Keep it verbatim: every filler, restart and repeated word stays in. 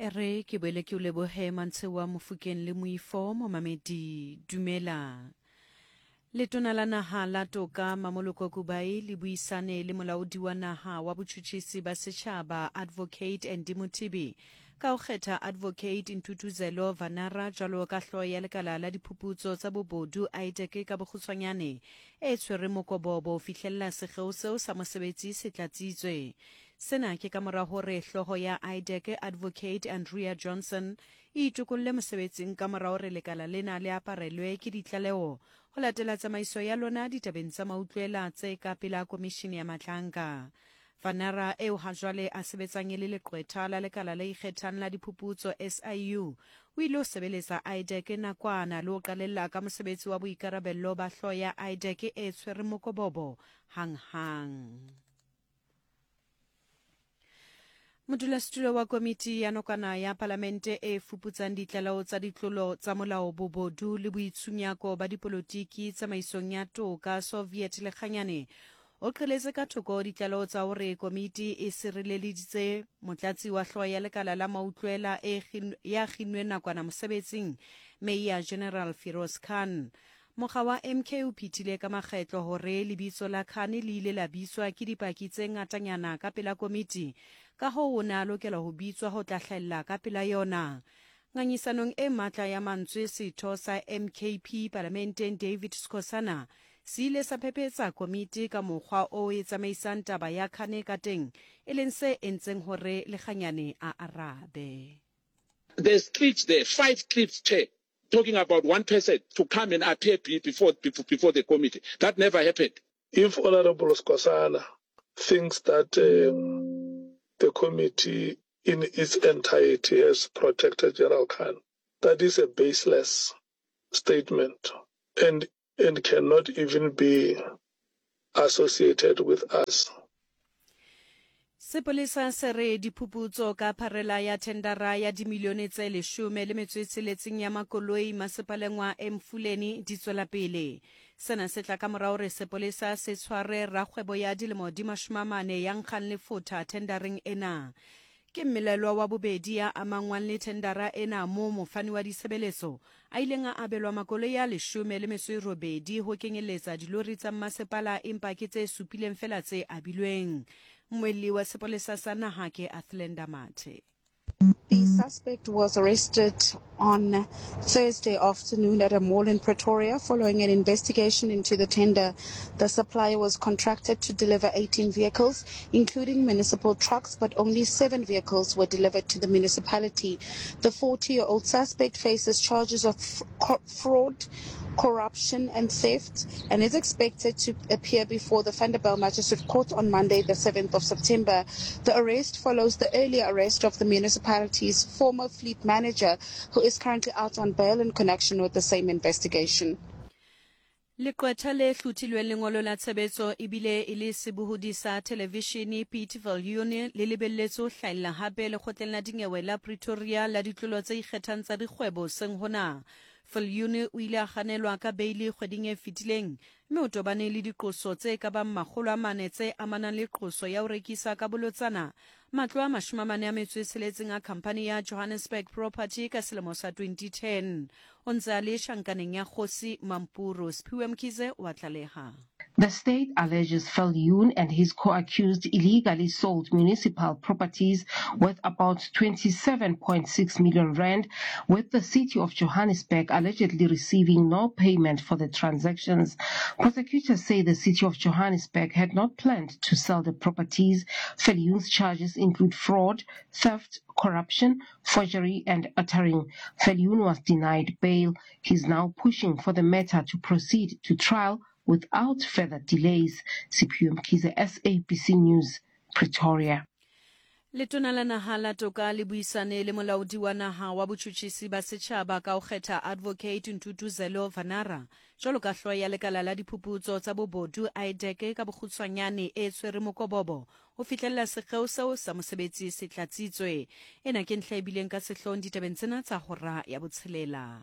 E re ke boele ke o lebohe Mantshewa Mofokeng le Moifo momamedi dumela. Letona la naha la toka Mamoloko Kubai le buisane le molaodi wa naha wa botjhutjhisi ba setjhaba Advocate Andy Mothibi ka ho kgetha Advocate Ntuthuzelo Vanara jwalo ka hlooho ya lekala la diphuputso tsa bobodu I D E C ka bokgutshwanyane e tshwere mokobobo ho fihlella sekgeo seo sa mosebetsi se tlatsitswe. Sena ke ka mora hore hlooho ya I D E C Advocate Andrea Johnson e itokolle mosebetsing ka mora hore lekala lena le aparelwe ke ditlaleho ho latela tsamaiso ya lona ditabeng tsa mautlwela tse ka pela komishini ya Madlanga. Vanara eo hajwale a sebetsang e le leqwetha la lekala le ikgethang la diphuputso S I U o ile ho sebeletsa I D E C nakwana le ho qalella ka mosebetsi wa boikarabello ba hlooho ya I D E C e tshwere mokobobo hanghang. Modulasetulo wa komiti ya nokana ya palamente e fuputsang ditlaleho tsa ditlolo tsa molao, bobodu le boitshunyako ba dipolotiki tsamaisong ya toka Soviet Lekganyane o qheletse ka thoko ditlaleho tsa hore komiti e sireleditse motlatsi wa hlooho ya lekala la mautlwela e ya kginweng nakwana mosebetsing Major General Firoz Khan. Mokga wa M K o phethile ka makgetlo hore lebitso la Khan le ile la bitswa ke dipaki tse ngatanyana ka pela komiti, ka hoo o ne a lokela ho bitswa ho tla hlahella ka pela yona. Ngangisanong e matla ya mantswe, setho sa M K P palamenteng David Skosana se ile sa phephetsa komiti ka mokgwa o e tsamaisang taba ya Khan ka teng, e leng se entseng hore Lekganyane a arabe. There's clips there, five clips, Chair, talking about one person to come and appear before, before, before the committee. That never happened. If Honorable Skosana thinks that um, the committee in its entirety has protected General Khan, that is a baseless statement and, and cannot even be associated with us. Sepolesa se re diphuputso ka pharela ya thendara ya dimilione tse leshome le metso e tsheletseng ya makoloi masepaleng wa Emfuleni di tswela pele. Sena se tla ka mora hore sepolesa se tshware rakgwebo ya dilemo di mashome a mane ya nkgang lefotha thendareng ena. Ke mmelelwa wa bobedi ya amangwang le thendara ena moo mofani wa ditshebeletso a ileng a abelwa makoloi a leshome le metso e robedi ho kenyeletsa dilori tsa mmasepala, empa ke tse supileng fela tse abilweng. Mmuelli wa sepolesa sa naha ke Athlenda Mathe. The suspect was arrested on Thursday afternoon at a mall in Pretoria following an investigation into the tender. The supplier was contracted to deliver eighteen vehicles, including municipal trucks, but only seven vehicles were delivered to the municipality. The forty-year-old suspect faces charges of fraud, corruption and theft and is expected to appear before the Vanderbijl Magistrate Court on Monday, the seventh of September. The arrest follows the earlier arrest of the municipality's former fleet manager, who is currently out on bail in connection with the same investigation. Leqwetha le hlothilweng lengolo la tshebetso ebile e le sebohodi sa thelevishene Piet Viljoen le lebelletswe ho hlahella hape lekgotleng la dinyewe la Pretoria la ditlolo tse ikgethang tsa dikgwebo seng hona. Viljoen o ile a kganelwa ka beili kgweding e fetileng mme o tobane le diqoso tse ka bang makgolo a mane tse amanang le qoso ya ho rekisa ka bolotsana matlo a mashome a mane a metso e tsheletseng a khamphani ya Johannesburg Property ka selemo sa twenty ten. O ntse a le tjhankaneng ya Kgosi Mampuru. Siphiwe Mkhize wa tlaleha. The state alleges Viljoen and his co-accused illegally sold municipal properties worth about twenty-seven point six million rand, with the city of Johannesburg allegedly receiving no payment for the transactions. Prosecutors say the city of Johannesburg had not planned to sell the properties. Viljoen's charges include fraud, theft, corruption, forgery and uttering. Viljoen was denied bail. He's now pushing for the matter to proceed to trial without further delays. Siphiwe Mkhize, S A B C News, Pretoria. Letona la naha la toka le buisane le molaodi wa naha wa botjhutjhisi ba setjhaba ka ho kgetha Advocate Ntuthuzelo Vanara jwalo ka hlooho ya lekala la diphuputso tsa bobodu I D E C ka bokgutshwanyane e tshwere mokobobo ho fihlella sekgeo seo sa mosebetsi se tlatsitswe. Ena ke ntlha e bileng ka sehloohong ditabeng tsena tsa hora ya botshelela.